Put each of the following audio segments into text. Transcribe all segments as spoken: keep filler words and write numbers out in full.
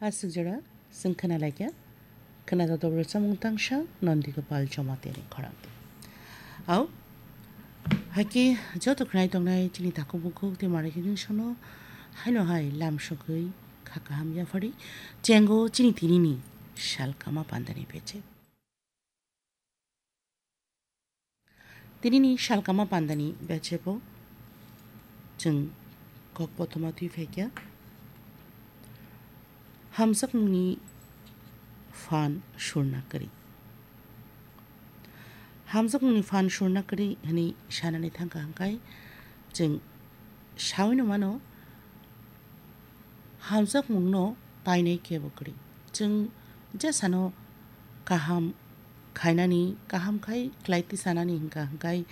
Aswk jora chwng khna laikha, khna joto rwchapmung tangsa Nandi Gopal Jamatia ni khorang. Au, haikhe joto khnai tongnai chini takhuk bukhuk tei manwi hwnwi sono haino hai lam sogwi kha kaham yaphari chengo chini tinini sal kama pandani beche. Tinini salkama pandani bechebo chwng kok kothoma twi phaikha, hamjakmungni phan surna kwrwi. Hamjakmungni phan surna kwrwi hwnwi sanani thangkha hwnkhe chwng sawino mano, hamjakmungno painai kebo kwrwi. Chwng jesano kaham khainani, kaham khai khlai tisanani hwnkha hwnkhe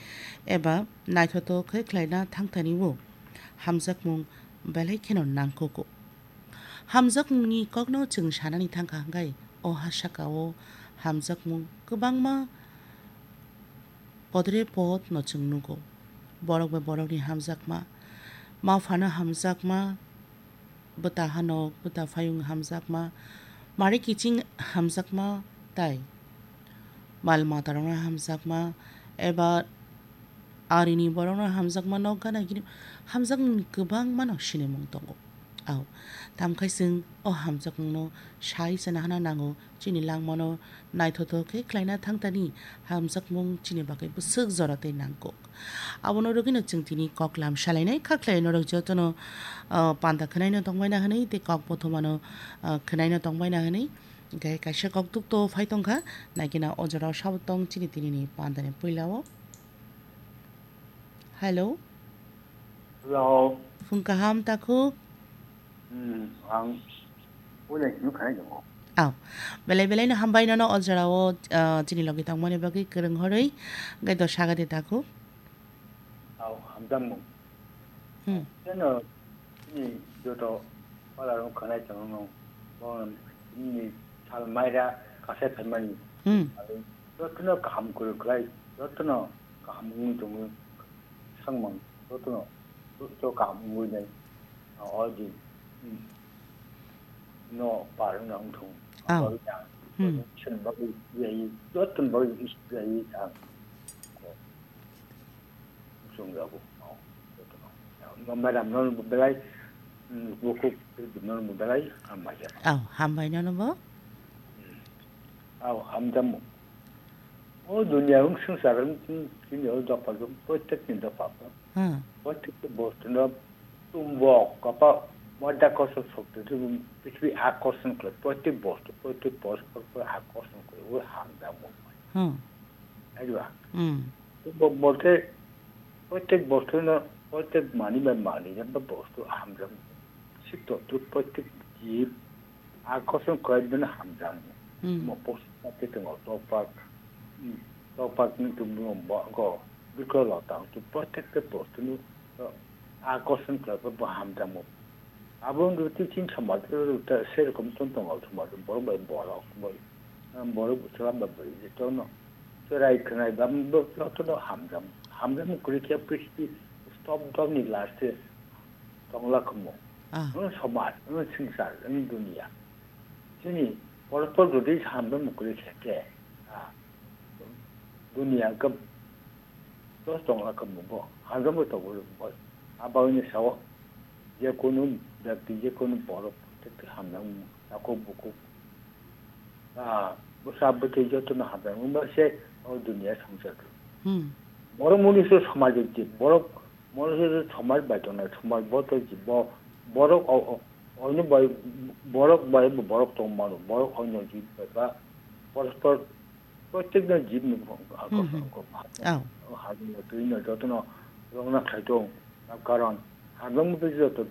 eba naithotok khe khlaina thangthani-o hamjakmung belai kheno nangkukgo. Hamjakmungni kokno chwng sanani thangkha hwnkhe o ha saka-o hamjakmung kwbangma podre pod no chwng nugo. Borok bai borokni hamjakma, ma phano hamjakma, bwta hanok, bwta phayung hamjakma, mari kiching hamjakma tai mal matarokno hamjakma, eba arini borokno hamjakma, nok gana gini hamjakmani kwbangma no sinimung tongo. Au, tamkhai chwng o hamjakmungno sai se nahana nango. Chini langmano naithotok khe khlaina thangtani hamjakmung chini bagwi bwswk jora tei nangkuk. Abono rwgwino chwng tini koklam salainai, kha khlai norok jotono, ah, panda khwnaino tongbaina hwnwi tei kok bothomano, ah, khwnaino tongbaina hwnwi. Hwnkhe kaisa kok tukto phai tongkha, naikhe na o jorao sabo tong chini tinini pandani puilao. Hello. Hello. Phung kaham takhuk. Hmm, ang puila kunu khanai tongo. Aw. Belai belai no hambai nono o jorao, ah, chini logi tongmani bagwi kwrwng horwi. Hwnkhe do sagadi takhuk. Aw, hamjakmung. Hmm. Cheno chini joto pala rok khanai tongo. Bo chini sal maira kasai phaimani. Hmm. Jotono kaham kwrwng khlai, jotono kaham wngwi tongwi, swngmang jotono susto kaham wngwi nai, o din, hmm, no par wngna wngthung. Aw. Abo wngya, hmm, chwng bagwi S B I, jotoni bagwi S B I ang. Chwng jago. Madam no belai, hmm, bukhuk no belai hambai. Aw, hambai nono bo. Hmm. Aw, hamjakmung. O duniya wng swngchar wng chini o dopha jok, protekni dopha. Hmm. Protekni bostu no tumbok, kapa, madhyakorshon shokti, prithibi akorshon khlai, protek bostu, protek porospor pore akorshon khlai, o hamjakmung. Hmm. Aiywa. Hmm. Tumbok bolte, protek bostu no, protek mani bai mani, jempa bostu hamjakmung. Sik totru protek jib, akorshon khlai bini hamjakmung. Hmm. Mo post pati tongo, topak, hmm, topak ni tumung bo, go, bikro lota, tu protek te bostu no, akorshon khlai bo hamjakmung. Abo wngkha tei chini samaj o ta serokom tong tongo, samaj o borok bai borok bai, borok bwsala bai bwrwi je tongno. Cherai khwnai bam bo jotono hamjak, hamjakmung kwrwi khe prithibi stop dopni last tongla khumo. Ah. Wng samaj, wng swngchar, wng duniya. Chini porpor jodi hamjakmung kwrwi khe khe, ah, duniya wngkha. Dos tongla kamo bo, hamjakmung tongo bo. Abagwino sao, je kunu byakti, je kunu borok, tei hamjak takhuk bukhuk. Ah, bwsa bwtwi jotono hamjak wngma se o duniya swngchar. Hmm. Borok mwnwi se samajik jib, borok mwnwi se samaj bai tongnai, samaj bo tei jib bo, borok o, o, oino bai, borok bai bo borok tong mano, borok oino jib bai ba, porospor Protekno jibni Hmm, hmm. Aw. Hajino twino jotono rwngna khlai tong. Karon hamjakmung tei joto